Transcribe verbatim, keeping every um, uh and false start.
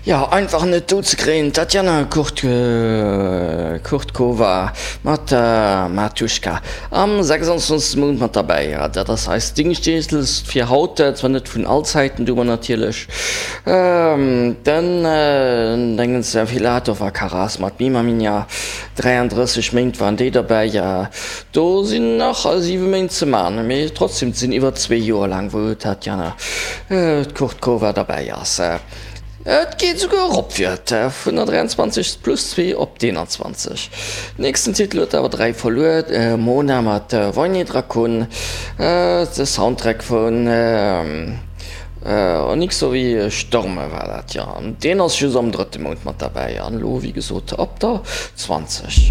Jo, einfach net dout ze kréien, d'Tatjana Kurtkova mat Matuschka am sechsundzwanzegste Mount mat derbäi. Jo, dat ass eis Dingschteenslëscht fir haut, zwar net vun all Zäiten, do hu mer natierlech den Dingens Filatov a Karas mat Mima Minja, dräiandrësseg Méint waren déi derbäi. Do sinn nach siwe Méint ze man, mee trotzdem, et sinn iwwer zwee Joer laang, wou d'Tatjana Kurtkova derbäi ass. Et geet esouguer erop fir vun der dräianzwanzeg plus zwee op d'eenanzwanzeg. Nächsten Titel huet awer dräi verluer, Mona mat Wojny Drakon, de Soundtrack vun Onyxowi Storme war dat, jo. An deen ass just am drëtte Mount mat derbäi an elo wéi gesot op der zwanzeg.